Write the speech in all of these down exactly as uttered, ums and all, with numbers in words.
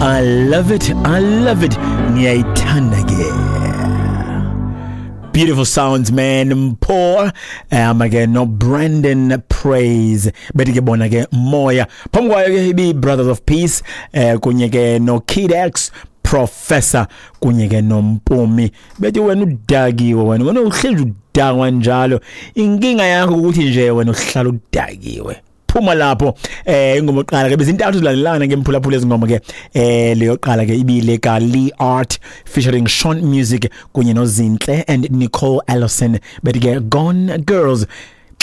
I love it, I love it. Ngiyayithanda ke. Beautiful sounds, man. Mpho um ke no Brandon Praise, bethi ke bona ke Moya. Phambi kwayo ke ibi Brothers of Peace eh kunye ke no Kid X Professor kunye ke noMpumi, bethi wena udakiwe, wena wena uhlezi udakwa njalo. Inkinga yakho ukuthi nje wena uhlala udakiwe. Phuma lapho. eh ingoma yokuqala ke bezintathu zilandelana ke, mphulaphula, ezingoma ke. eh leyo qala ke ibile ka Lee Art featuring Sean Music kunye noZinhle and Nicole Ellison, bethi ke Gone Girls.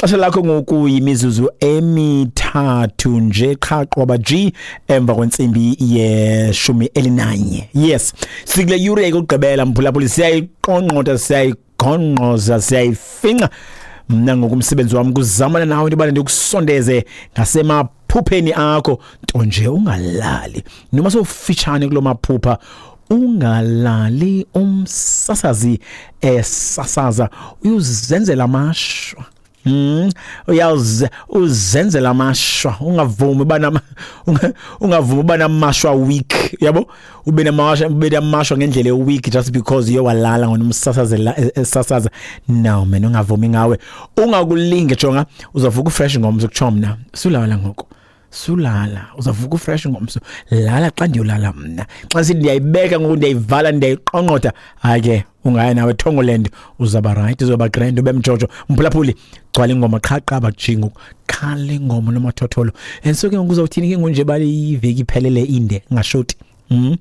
Xesha lakho ngoku yimizuzu emithathu nje qha qwaba G emva kwentsimbi yeshumi elinanye. Yes, sikule yure yokugqibela, mphulaphula, siyayiqongqotha, siyayigonqoza, siyayifinqa. Mna ngokumsebenzi wami kuzamana nawe into yobana ndikusondeze ngasemaphupheni akho, nto nje ungalali noma sowufitshane kulo maphupha. Ungalali umsasazi esasaza, uyuzenzela amashwa. Mm uyawuze uzenzela amashwa. Ungavumi bana ungavumi bana amashwa week, yabo, ube namashwa ube namashwa ngendlela week just because uye walala ngonomsasazela esasaza. No man, ungavumi ngawe, ungakulinge. Jonga, uzavuka ufresh ngomso, kutsho mna. Sulala ngoku, sulala, uzavuka ufresh ngomso. Lala xa ndiyolala mna. Xa sithi ndiyayibeka ngoku, ndiyayivala, ndiyayiqongqotha, hayi ke, ungaya nawe Thongoland, uzaba right, uzoba grand, ube mjojo. Mphulaphuli, gcwala ingoma qha qaba jingo, khala ingoma nomathotholo. And so ke ngoku uzawuthini ke ngonje bali iveki iphelele inde ngashoti? mm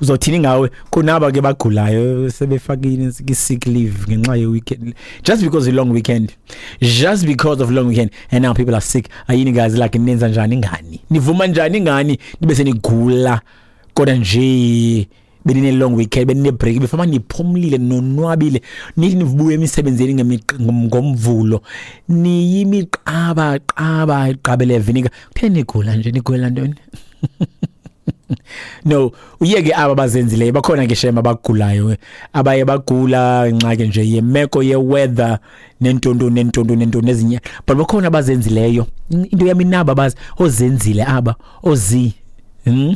uzothini ngawe kunaba ke bagulayo sebefakile sick leave ngenxa ye weekend, just because the long weekend, just because of long weekend, and now people are sick? Ayini guys, like, nenza njani ngani? Nivuma njani ngani nibe senigula, kodwa nje benine long weekend, benine break, befama niphumlile, nonwabile, nithi nivubuye emisebenzini ngomvulo niyimiqaba qaba iqabele vinegar? Kutheni nigula nje? Nigula ntoni? No, uyeke aba bazenzileyo, bakhona ke shema abagulayo, abaye bagula ingxaki nje yemeko ye-weather nentonto nentonto nentonto ezinye, but bakhona abazenzileyo. Into yami naba bazi ozenzile aba ozi, hmm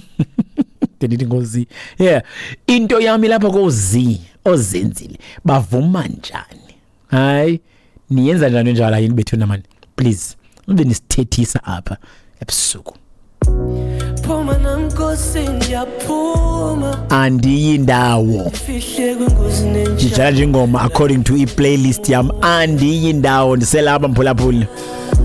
ndithi ngozi, yeah, into yami lapha kozi ozenzile, bavuma njani? Hayi, niyenza njani njalo? Yini bethuna mani? Please, ube nisithethisa apha ebusuku. Phuma namnkosi, ndiyaphuma. Andiyi ndawo. Fihle kwingozi nenja. Ndidlala nje ingoma according to i-playlist yam. Andiyi ndawo, ndiselapha, mphulaphuli.